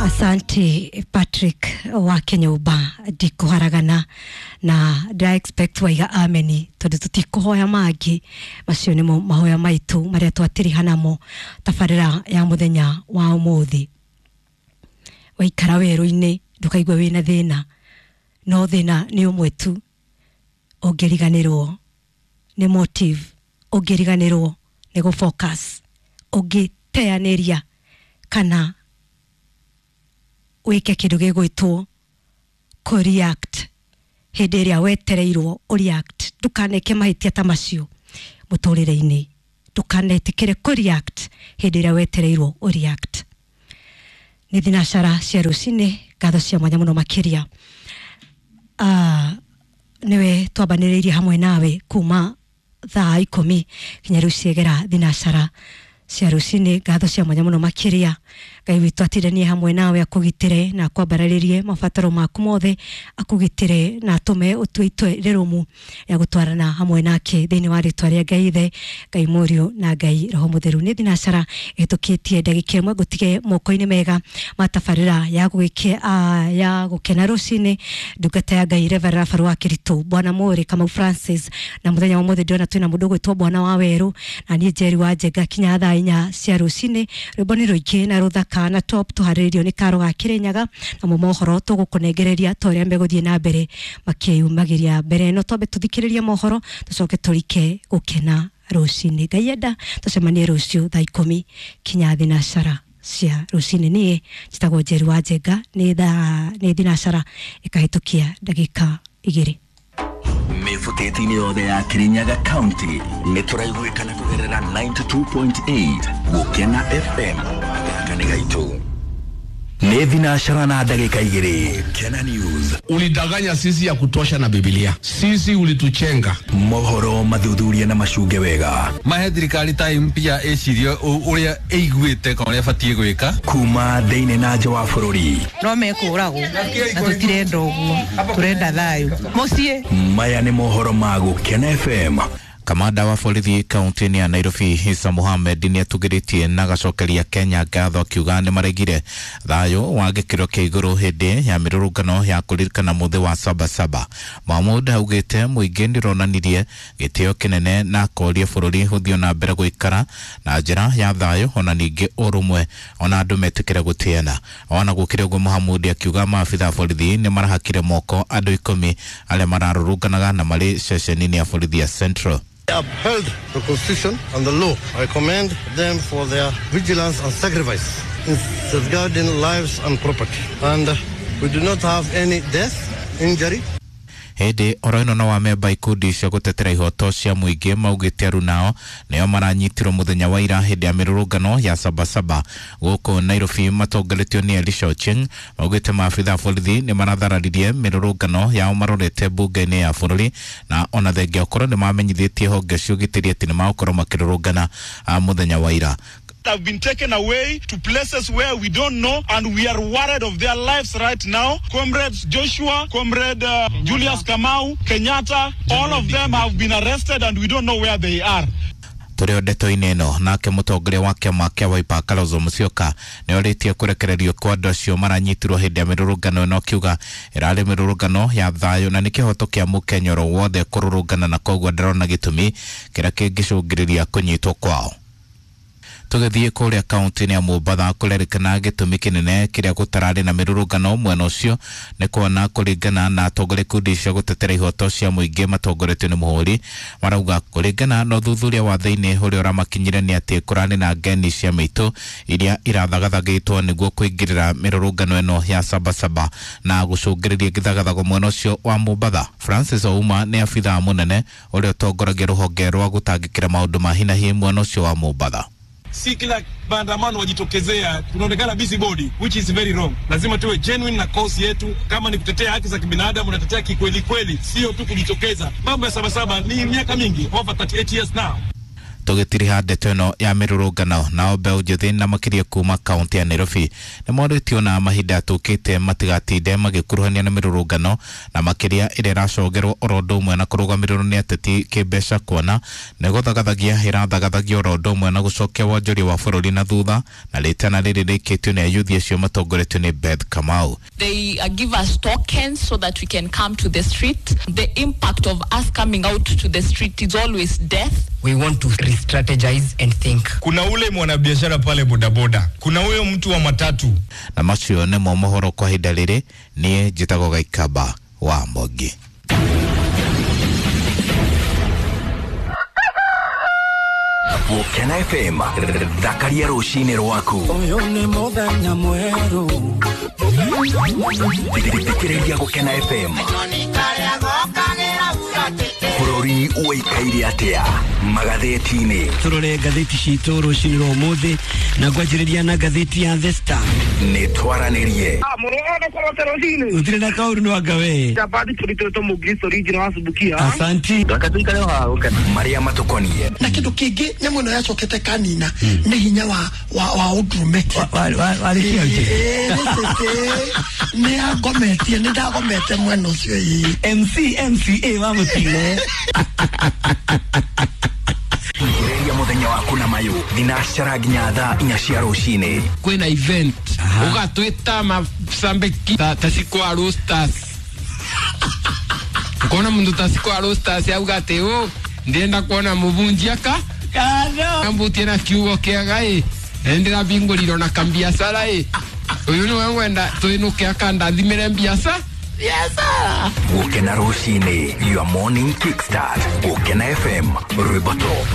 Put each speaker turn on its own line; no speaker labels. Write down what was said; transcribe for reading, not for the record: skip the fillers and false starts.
Asante Patrick wa Kenyũmba, ndikũharagana na ndĩra expect waiga ameni tondũ tũtikũhoya mangĩ, macio nĩmo mahoya maitũ marĩa twatĩriha namo tabarĩra ya mũthenya wa ũmũthĩ. Waikara werũ-inĩ ndũkaigue wĩna thĩna, no thĩna nĩ ũmwe tu, ũngĩriganĩrwo nĩ motive, ũngĩriganĩrwo nĩ gũ focus, ũngĩteanĩria kana wĩke kĩndũ gĩgwĩtwo kũ react hĩndĩ ĩrĩa wetereirwo ũ react. Ndũkaneke mahĩtia ta macio mũtũrĩre-inĩ, ndũkanetĩkĩre kũ react hĩndĩ ĩrĩa wetereirwo ũ react. Nĩ thinacara cia rũcinĩ, ngatho cia mwanya mũno makĩria. Nĩwe twambanĩrĩirie hamwe nawe kuma thaa 10 kinya rĩu ciegera thinacara cia rũcinĩ. Ngatho cia mwanya mũno makĩria. Ngai witũ atindanie hamwe nawe, akũgitĩre na akwambararĩrie mabataro maku mothe, akũgitĩre na atũme ũtue itua rĩrũmu ya gũtwarana hamwe nake thĩinĩ wa rĩtwa rĩa Ngai Ithe, Ngai Mũriũ na Ngai Roho Mũtheru. Nĩ thinacara ĩhĩtũkĩtie ndagĩka 1, ngũtige moko-inĩ mega ma tabarĩra ya ya gũkena rũcinĩ. Ndungata ya Ngai Reverend Rafael wa Kĩritũ, Bwana Mũrĩ Kamau Francis, na mũthenya wa ũmũthĩ ndĩrona twĩna mũndũ ũgwĩtwo Bwana wa Werũ na niĩ Njeri wa Njenga kinya thaa 4 cia rũcinĩ. Rwĩmbo nĩ rũingĩ na rũthaka na top tũharĩrĩirio nĩ Karo ga Kĩrĩnyaga, namo mohoro tũgũkũnengereria ta ũrĩa megũthiĩ na mbere makĩyumagĩria mbere. No twambe tũthikĩrĩrie mohoro tũcoke tũrike gũkena rũcinĩ. Ngai enda tũcemanie rũciũ thaa 10 kinya thinacara cia rũcinĩ. Niĩ njĩtagwo Njeri wa Njenga, nĩ thinacara ĩkahĩtũkia ndagĩka 2.
Mĩbutĩti-inĩ yothe ya Kirinyaga County nĩ tũraiguĩkana kũgerera 92.8 Gũkena FM gaka nĩ gaitũ. Nĩ thinacara na ndagĩka 2. Gũkena News.
Ulidanganya sisi ya kutosha na Biblia. Sisi ulituchenga.
Mohoro mathuthuria na macunge wega.
Mahe thirikari time pia ĩcirie ũrĩa ĩiguĩte kana ũrĩa ĩbatiĩ gwĩka.
Kuma thĩinĩ na nja wa bũrũri.
No mekũragwo na tũtirenda ũguo, tũrenda thayũ mũciĩ.
Maya nĩ mohoro ma Gũkena FM.
Kamanda wa borithi kaunti-inĩ ya Nairobi Isa Mohamed nĩ atugĩrĩtie na agacokeria Kenya ngatho akiuga nĩ maregire thayũ wa gĩkĩro kĩa igũrũ hĩndĩ ya mĩrũrũngano ya kũririkana mũthĩ wa Sabasaba. Mahmoud augĩte mũingĩ nĩ ũronanirie gĩtĩo kĩnene na akoria bũrũri ũthiĩ na mbere gũikara na njĩra ya thayũ ona ningĩ ũrũmwe ona andũ metĩkĩre gũtĩana. Ona gũkĩrĩ ũguo Mohamud akiuga maabitha a borithi nĩ marahakire moko andũ 10 arĩa mararũrũnganaga na marĩ ceceni-inĩ ya borithi ya Central.
They upheld the Constitution and the law. I commend them for their vigilance and sacrifice in safeguarding lives and property. And we do not have any death, injury.
Hĩndĩ oro ĩno no amemba ikundi cia gũtetera ihoto cia mũingĩ maugĩte arunao nĩo maranyitirwo mũthenya wa ira hĩndĩ ya mĩrũrũngano ya Sabasaba gũkũ Nairobi matongoretio nĩ Elisha Ochieng. Maugĩte maabitha a borithi nĩ marathararirie mĩrũrũngano yao marorete mbunge-inĩ ya bũrũri na ona thengia ũkorwo nĩ mamenyithĩtie honge cia ũgitĩri atĩ nĩ magũkorwo makĩrũrũngana mũthenya wa ira.
Have been taken away to places where we don't know, and we are worried of their lives right now. Comrades Joshua, Comrade Julius Kamau, Kenyatta, all of them have been arrested and we don't know where they are.
Tũrĩ o ndeto-inĩ ĩno, nake mũtongoria wa kĩama kĩa Wiper Kalonzo Musyoka nĩ orĩtie kũrekererio kwa andũ acio maranyitirwo hĩndĩ ya mĩrũrũngano ĩno, akiuga ĩrarĩ mĩrũrũngano ya thayũ na nĩ kĩhoto kĩa mũkenya oro wothe kũrũrũngana na koguo ndarona gĩtũmi kĩrĩa kĩngĩcũngĩrĩria kũnyitwo kwao. Tũgĩthiĩ kũrĩa kaunti-inĩ ya Mombatha kũrerĩkana gĩtũmi kĩnene kĩrĩa gũtararĩ na mĩrũrũngano mwena ũcio nĩ kuona kũringana na atongoria ikundi cia gũtetera ihoto cia mũingĩ matongoretio nĩ Mũhũri marauga kũringana na ũthuthuria wa thĩinĩ ũrĩa ũramakinyire nĩ atĩ kũrarĩ na ngeni cia mĩitũ iria irathagathagĩtwo nĩguo kũingĩrĩra mĩrũrũngano ĩno ya Sabasaba na gũcũngĩrĩria gĩthagathago mwena ũcio wa Mombatha. Francis Ouma nĩ abithaa mũnene ũrĩa ũtongoragia rũhonge rwa gũtangĩkĩra maũndũ ma hinahi mwena ũcio wa Mombatha.
Si kila maandamano wajitokezea tunaonekana busy body, which is very wrong. Lazima tuwe genuine na cause yetu. Kama ni kutetea haki za kibinadamu, unatetea kikweli kweli, sio tu kujitokeza. Mambo ya Sabasaba ni miaka mingi, over 38 years now.
Tũgĩtiriha ndeto ĩno ya mĩrũrũngano, nao mbeũ njĩthĩ na makĩria kuma kaunti ya Nairobi nĩ morĩtio na mahinda tũkĩte matigatinde magĩkuruhania na mĩrũrũngano, na makĩria ĩrĩa ĩracogerwo oro ũndũ ũmwe na kũrũgamĩrĩrwo nĩ ateti kĩmbeca, kuona nĩ gũthagathagia ĩrathagathagia oro ũndũ ũmwe na gũcokia wonjoria wa bũrũri na thutha, na rĩtana rĩrĩ rĩkĩtio nĩ ayuthi acio matongoretio nĩ Beth Kamau.
They give us tokens so that we can come to the street. The impact of us coming out to the street is always death.
We want to re-strategize and think.
Kuna ule mwanabiashara pale bodaboda, kuna huyo mtu wa matatu.
Na macio nĩmo mohoro kwa ihinda rĩrĩ. Niĩ njĩtagwo Gaikaba wa Mbogi.
Gũkena FM, thakaria rũcinĩ rwaku.
Ũyũ nĩ mũthenya mwerũ.
Thikĩrĩria Gũkena FM. Bũrũri ũikaire atĩa magathĩti-inĩ?
Tũrore ngathĩti citũ rũcinĩ rwa ũmũthĩ, na ngwanjĩrĩria na ngathĩti ya The Star.
Nĩ twaranĩrie.
Gũtirĩ na kaũru no anga we. Asanti.
Marĩa matũkoniĩ
na kĩndũ kĩngĩ nyamũ ĩno yacokete kanina nĩ hinya wa wa ũndũrũme. Nĩ angometie, nĩ ndagomete mwena ũcio ĩĩ.
MC MCA wa mũtino.
Thikĩrĩria mũthenya waku na mayũ thinacara nginya thaa 4 cia rũcinĩ.
Kwĩna event ũgatwĩta macambĩki ta Cikwa Roasters, ukona mundu ta Cikwa Roasters auga atĩ ũ ndĩrenda kuona mũbunjia ka ambutie na kiugo kĩega ĩ ndĩrabingũrirwo na kambiacara ĩ ũyũ nĩwe ngwenda twĩnũke akandathimĩre mbiaca.
Gũkena rũcinĩ, your morning kickstart. Gũkena FM, rwĩmbo top.